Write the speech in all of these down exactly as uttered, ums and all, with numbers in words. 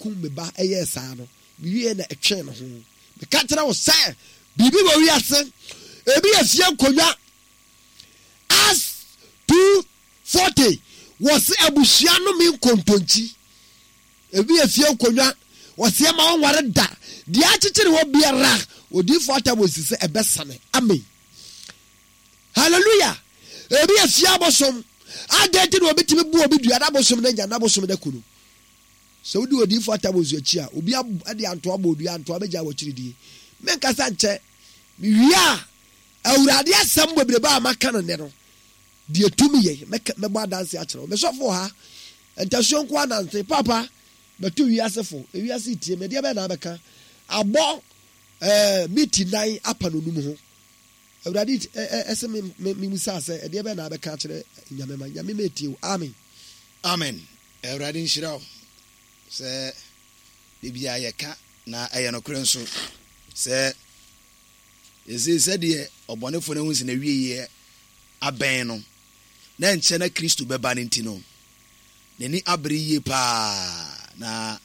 kum me ba ɛyɛɛ saa no, mewie na ɛtwee ne ho. Meka kyerɛ wo sɛ biribi wɔ wiase, ebi yɛ fie nkonnwa. Acts two forty wɔse abusua no me nkontonkyi. Ebi yɛ fie nkonnwa, wɔse ɛma wɔnware da. Deɛ akyekyere hɔ biara, odiyifoɔ Attamosi sɛ ɛbɛsane. Amen. Hallelujah. Ebi yɛ fie abosom. Adɛn nti na obi tumi bu obi dua na abosom no anya na abosom no aku no? Sɛ wodi odiyifoɔ Attamosi akyi a, obi de antoa bɔ odua, antoa bɛgya wɔ akyiridie. Menkasa nkyɛ. Mewie a, Awurade asɛm bebrebe a maka no nnɛ no, deɛ tumi yɛ, mɛbɔ adanse akyerɛ wo. Mesɔfo wɔ ha, ntasuo nko anante. Papa, bɛto wiase fo, ewiase tie me, deɛ bɛyɛ na abɛka. Abɔ ɛɛ miti nan apa no num ho. Awurade ɛsɛ me me me musa sɛ ɛdeɛ bɛyɛ na abɛka akyerɛ Nyame ma Nyame ma etie wo. Amen. Amen. Awurade nhyira wo sɛ biribiara yɛka na ɛyɛ nokorɛ nso sɛ ɛsei sɛdeɛ ɔbɔnefoɔ no ahu sɛ n'awieeɛ abɛn no na nkyɛ na Kristo bɛba no nti no n'ani abere yie paa na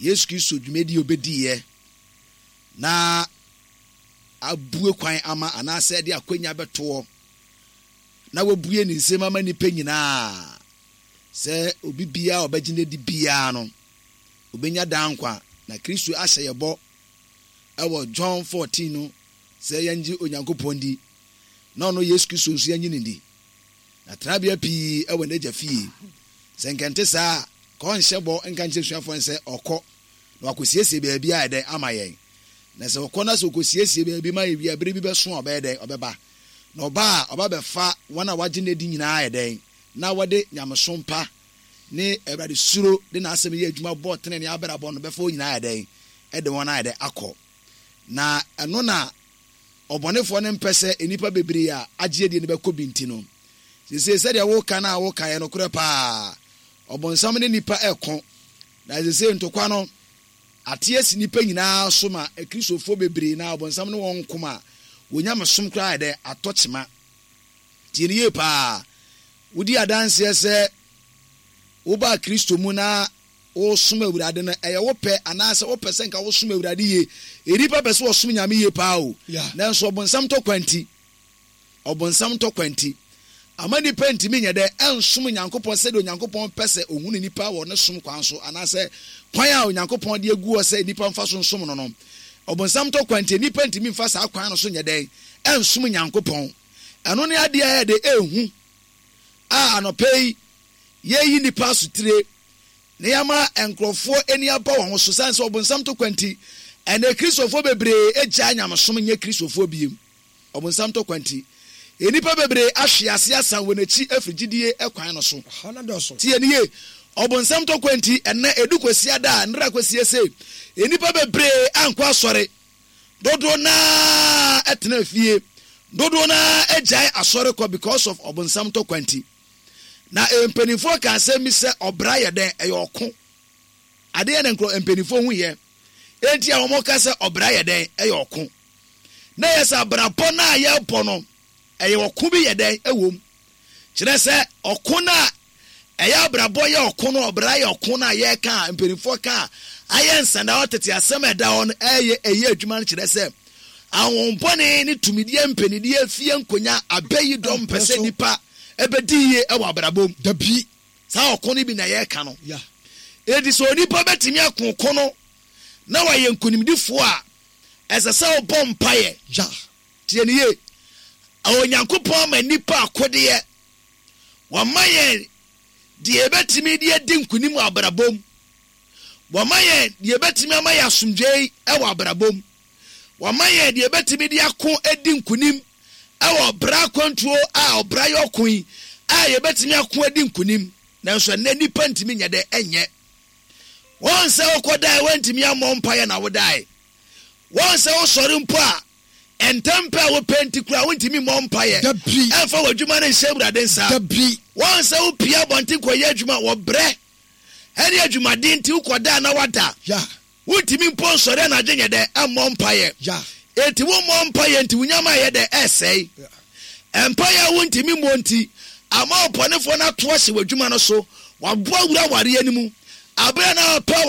Yesu Kristo dwumadi a obɛdiiɛ na abue kwan ama anaasɛ de akwanya bɛtoɔ na wabue ne nsam ama nnipa nyinaa sɛ obi biara a ɔbɛgye no adi biara no obɛnya daa nkwa. Na Kristo ahyɛ yɛ bɔ ɛwɔ John fourteen no sɛ yɛngye Onyankopɔn di na ɔno Yesu Kristo nso yɛnye no di. Na tenabea pii ɛwɔ n'agya fie. Sɛ nkɛnte saa a, ka ɔnhyɛ bɔ nka nkyerɛ suafoɔ no sɛ ɔkɔ na wakɔsiesie baabi a ɛdɛn ama yɛn. Na sɛ ɔkɔ na sɛ ɔkɔsiesie baabi ma yɛ wie a, bere bi bɛso a ɔbɛyɛ dɛn? Ɔbɛba. Na ɔba a, ɔba bɛfa wɔn a wɔagye no adi nyinaa yɛ dɛn? Na wɔde nyamesom pa ne Awurade suro de n'asɛm yɛ adwuma bɔ tenenee abrabɔ no bɛfa wɔn nyinaa yɛ dɛn? Ɛde wɔn ayɛ dɛn? Akɔ. Na ɛno na ɔbɔnefoɔ no mpɛ sɛ nnipa bebree a agye adie no bɛkɔ bi nti no. Seesei sɛdeɛ woka no a woka yɛ nokorɛ paa. Ɔbonsam ne nnipa ɛko. Na seesei ntokwa no ate asi nnipa nyinaa so ma Akristofoɔ bebree na ɔbonsam ne wɔn nko ma wɔn nyamesom koraa yɛ dɛ atɔ kyema. Tie no yie paa. Wodi adanseɛ sɛ wobaa Kristo mu na wosom Awurade no, ɛyɛ wo pɛ anaasɛ wopɛ sɛ nka wosom Awurade yie. Nnipa pɛ sɛ wɔsom Nyame yie paa o. Nanso ɔbonsam tɔkwa nti, ɔbonsam tɔkwa nti, ama nnipa ntumi nyɛ dɛ ɛnsom Nyankopɔn sɛdeɛ Onyankopɔn pɛ sɛ ohunu nnipa wɔ ne som kwan so anaasɛ kwan a Onyankopɔn de agu hɔ sɛ nnipa mfa so nsom no no. Ɔbonsam tɔkwa nti, nnipa ntumi mfa saa kwan no so nyɛ dɛn ɛnsom Nyankopɔn. Ɛno ne adeɛ a ɛyɛ de ɛhu a anɔpa yi yɛyi nnipa asotire na yɛama nkurɔfoɔ ani aba wɔn ho so sane sɛ ɔbonsam tɔkwa nti ɛnɛ Kristofoɔ bebree agyae nyamesom nyɛ Kristofoɔ biem. Ɔbonsam tɔkwa nti nnipa bebree ahwe ase asan wɔn akyi afiri gyidie kwan no so. Tie ne yie. Ɔbonsam tɔkwa nti ɛnɛ edu kwasi ada a nnra kwasi ese nnipa bebree ankɔ asɔre. Dodoɔ naa ɛtena fie. Dodoɔ naa agyae asɔre kɔ because of ɔbonsam tɔkwa nti. Na mpanimfoɔ ka asɛm bi sɛ ɔbra yɛ dɛn ɛyɛ ɔko. Adeɛ na nkurɔ mpanimfoɔ hu yɛ. Enti a wɔn ka sɛ ɔbra yɛ dɛn ɛyɛ ɔko. Na yɛ sɛ abrabɔ no a yɛrebɔ no ɛyɛ ɔko bi yɛ dɛn ɛwɔ mu. Kyerɛ sɛ ɔko no a ɛyɛ abrabɔ yɛ ɔko no, ɔbra yɛ ɔko no a yɛreka a mpanimfoɔ ka a ayɛ nsɛnda hɔ tete asɛm a ɛda hɔ no ɛyɛ ɛyɛ adwuma no kyerɛ sɛ ahohombɔne ne tumidie mpanidie fie nkonya abɛyi dɔm mpɛ sɛ nipa ɛbɛdi yie ɛwɔ abrabɔ mu. Dabi. Saa ɔko no bi na yɛreka no. Enti sɛ onipa bɛtumi ako ko no na wayɛ nkonimdifoɔ a ɛsɛ sɛ ɔbɔ mpaeɛ. Tie ne yie. Onyankopɔn ama nnipa akodeɛ. Wama yɛn deɛ yɛbɛtumi de adi nkonim wɔ abrabɔ mu. Wama yɛn deɛ yɛbɛtumi ama yɛn asomdwoe wɔ abrabɔ mu. Wama yɛn deɛ yɛbɛtumi de ako adi nkonim wɔ ɔbra akwantuo a ɔbra yɛ ɔko yi a yɛbɛtumi ako adi nkonim. Nanso ɛnnɛ nnipa ntumi nyɛ dɛ ɛnyɛ. Wɔn sɛ wokɔdae wɔntumi ammɔ mpaeɛ na wodae. Wɔn sɛ wosɔre mpo a ntɛm pɛ a wopɛ nti koraa wontumi mmɔ mpaeɛ. Dabi. Ɛmfa w'adwuma no nhyɛ Awurade nsa. Dabi. Wɔn sɛ wopie abɔnten kɔyɛ adwuma wɔbrɛ ɛne adwumaden nti wokɔdaa na wada. Ya. Wontumi mpo nsɔre anadwo nyɛ dɛ ɛmmɔ mpaeɛ. Ya. Enti wommɔ mpaeɛ nti wo nyama yɛ dɛ ɛsɛe. Mpaeɛ a wontumi mmɔ nti ama ɔbɔnefoɔ no ato ahyɛ w'adwuma no so. Waboa wura awareɛ no mu. Abere na ɔpɛ awareɛ